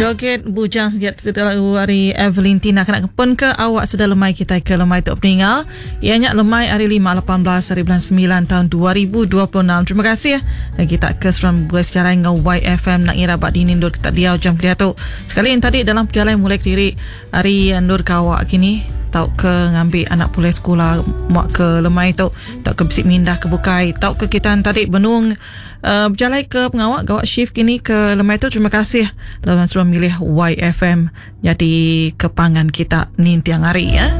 Joget bujang segiat lagu ari Evelyn Tina kena ngepun ke awak seda lemai kitai ke lemai tu peninga iya nya lemai hari 5 18 hari bulan 9 tahun 2026. Terima kasih kita ke seruan begulai sejalai enggau YFM nak ngira ba dini endur kita diau jam kediatu. Sekali yang tadi dalam pejalai mulai kediri ari endur gawa kini tauka ngambi anak pulai sekula muak ke lemai tu tauka bisi mindah ke bukai tauka kita tadi benung Bejalai ke pengawa gawa shift kini ke lemai tu terima kasih laban sudah milih YFM nyadi ke pangan kita ninting hari ya.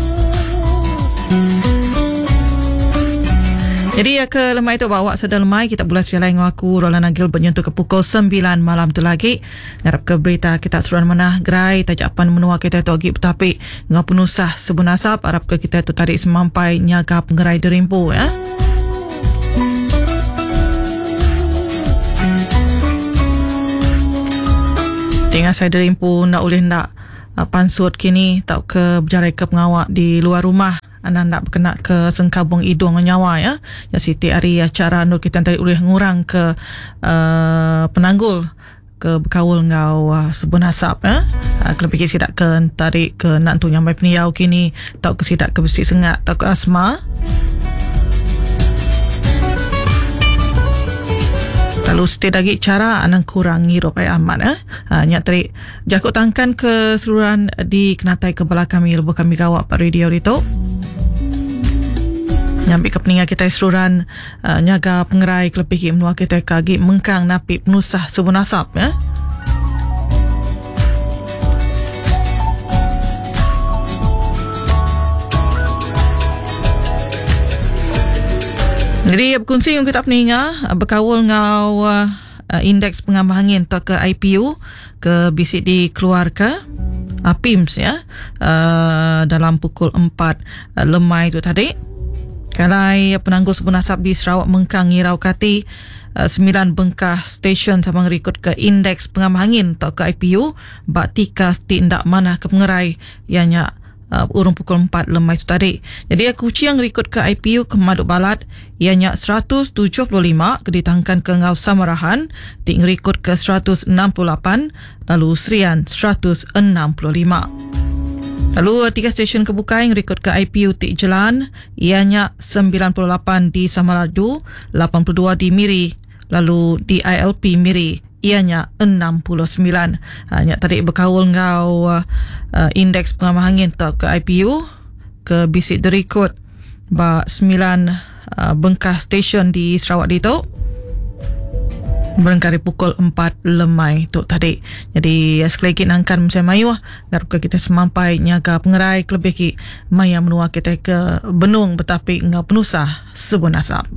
Jadi ya ke lemai tu bawa sada lemai kita bulan sejalai ngau aku Roland Agil benyentuk ke pukul 9 malam tu lagi. Ngarap ke berita kita seruan manah gerai tajapan menua kita tu agi betapi ngau penusah sebun asap arap ke kita tu tadi semampai nyaga pengerai derimpu ya. Tinggal saya derimpu nda ulih nda uh, pansut kini tauka bejalai ke pengawa di luar rumah anda nda bekena ke sengkabung idung nyawa ya. Ya siti ari acara nur kita tadi ulih ngurang ke uh, penanggul ke bekaul enggau uh, sebun asap ya. Uh, kelebih sida ke tadi ke nak tu nyamai pendiau kini tauka sida ke bisi sengak tauka asma. Lalu setiap lagi cara anang kurang ngirup air amat eh. Ha, nya tadi jaku tangkan ke seluruhan di kenatai ke bala kami lebuh kami gawak pak radio ditu. Ngambi ke peninga kita seluruhan uh, nyaga pengerai kelebih ki menua kita ke agi mengkang napi penusah sebun asap ya. Jadi berkunsi dengan kita peninga berkaul ngau uh, indeks pengambah angin atau ke IPU ke bisi dikeluarkan APIMS ya uh, dalam pukul 4 uh, lemai tu tadi. Kalai penanggul sebun asap di Sarawak mengkang ngirau kati 9 bengkah stesen sama ngerikut ke indeks pengamah angin atau ke IPU ba tikas ti ndak manah ke pengerai ianya uh, urung pukul 4 lemai tu tadi. Jadi Kuching ngerikut ke IPU ke Madu Balat ianya 175 ke ditangkan ke Ngau Samarahan ti ngerikut ke 168 lalu Serian 165. Lalu tiga stesen kebukai ngerikut ke IPU ti jelan ianya 98 di Samalaju, 82 di Miri, lalu di ILP Miri ianya 69. Ha, nya tadi berkaul ngau uh, indeks pengamah angin atau ke IPU ke bisik derikut ba 9 uh, bengkah stesen di Sarawak ditu berengkari pukul 4 lemai tu tadi. Jadi sekali lagi nangkan musim mayuh ngarap ke kita semampai nyaga pengerai kelebih ki maya menua kita ke benung betapi ngau penusah sebun asap.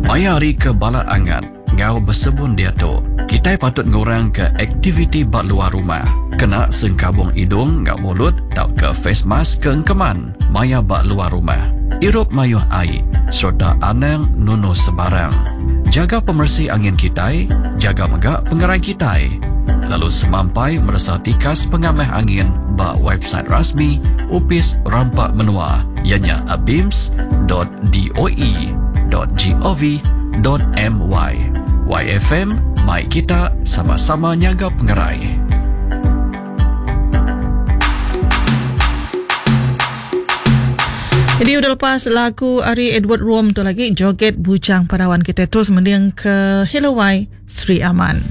Maya hari ke balat angat ngau besebun diatu, kitai patut ngurang ke aktiviti ba luar rumah. Kena sengkabung idung ngau mulut tauka face mask ke engkeman maya ba luar rumah. Irup mayuh ai sereta anang nunu sebarang. Jaga pemeresi angin kitai, jaga mega pengerai kitai. Lalu semampai meresa tikas pengamah angin ba website rasmi Opis Rampa Menua ianya abims.doe.gov.my. YFM, mai kita sama-sama nyaga pengerai. Jadi udah lepas lagu ari Edward Rom tu lagi Joget Bujang Padawan kita terus mending ke Hello Y Sri Aman.